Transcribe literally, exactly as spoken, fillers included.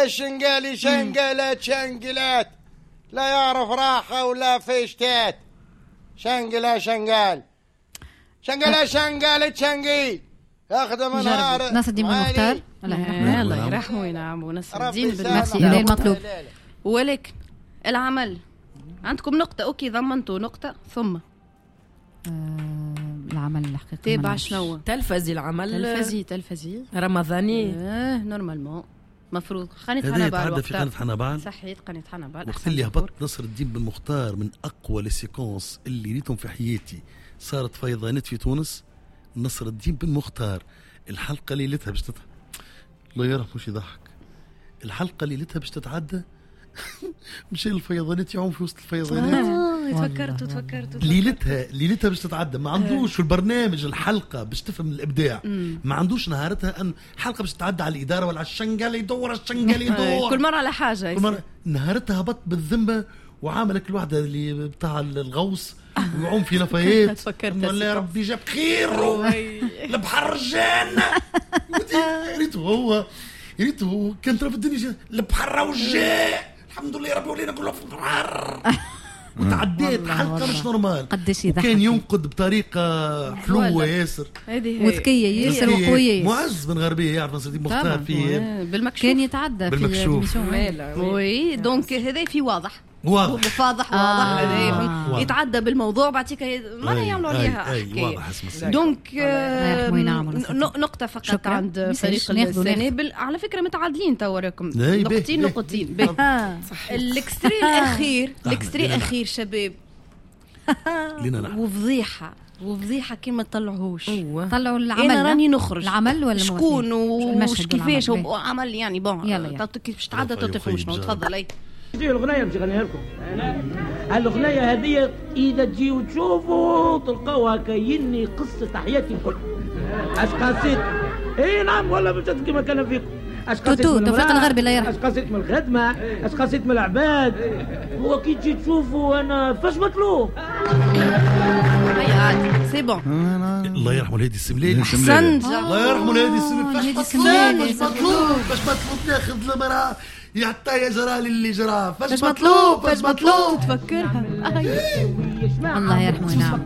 الشنقالي شنقلت شنقلات، لا يعرف راحة ولا فيشتات. شنقلة شنقال شنقلة شنقالت شنقي اخدم نهار. نصر الدين بن مختار الله يرحمه، الله يرحمه وينعم ونصر الدين بن مختار المطلوب. ولكن العمل عندكم نقطة، OK ضمنتوا نقطة، ثم آه العمل الحقيقي تابع شنو؟ تلفزي العمل، تلفزي تلفزي رمضاني اه normalement مفروض قناة حنبعل في قناة حنبعل، صحيت قناة حنبعل. وقت اللي هبط نصر الدين بن مختار من أقوى les séquences اللي ريتهم في حياتي، صارت فيضانات في تونس. نصر الدين بن مختار الحلقة ليلتها باش تتعدى، الله يرحمه مش يضحك، الحلقة ليلتها باش تتعدى مشى الفيضانات يعوم في وسط الفيضانات. اه تفكرت تفكرت ليلتها ليلتها باش تتعدى، ما عندوش في البرنامج الحلقة باش تفهم الابداع، ما عندوش نهارتها ان حلقة باش تتعدى على الادارة ولا على الشنقال يدور الشنقال يدور كل مرة على حاجة. كل مرة نهارتها هبط بالذمه وعامل كل واحدة اللي بتاع الغوص ويعوم في نفايات. تفكرت والله ربي جاب خير البحر جانا. ريته هو ريته كان ترى في الدنيا البحر وجاء الحمد لله ربي ولينا كله في البحر. وتعديت حلقة مش normal. قداش يضحك، كان ينقد بطريقة حلوة ياسر وذكيه ياسر وقويه. معز بن غربية يعرف نصر الدين مختار في بالمكشوف، كان يتعدى بالمكشوف. oui donc هذا في واضح واضح فاضح واضح آه. آه. يتعدى بالموضوع بعطيك ما يعملوا عليها حكاية. donc آه نقطة فقط شكرا. عند فريق السنابل على فكرة متعادلين توا راكم نقطتين نقطتين. ال extrait الاخير ال extrait الاخير شباب وفضيحه وفضيحه كي ما تطلعوش. طلعوا العمل، انا راني نخرج العمل ولا شكون وكيفاش عمل يعني bon كيفاش تعدى تفهمش. تفضل. اي تجي الأغنية باش نغنيها لكم. الأغنية هذه إذا تجيو تشوفوا تلقاوها كايني قصة حياتي الكل. اش قصيت؟ إي نعم والله باش كيما كان فيكم. اش قصيت؟ توفيق الغربي الله يرحمه. اش قصيت من الخدمة؟ اش قصيت من العباد؟ هو كي تجي تشوفوا أنا فاش مطلوب؟ هيا c'est bon. الله يرحمه الهادي السملالي. احسنت. الله يرحمه الهادي السملالي. فاش مطلوب؟ فاش مطلوب؟ فاش مطلوب ناخذ المرأة يعطي يا جرى للي جرى. فاش مطلوب؟ فاش مطلوب؟ تفكرها. الله يرحمه. نعم.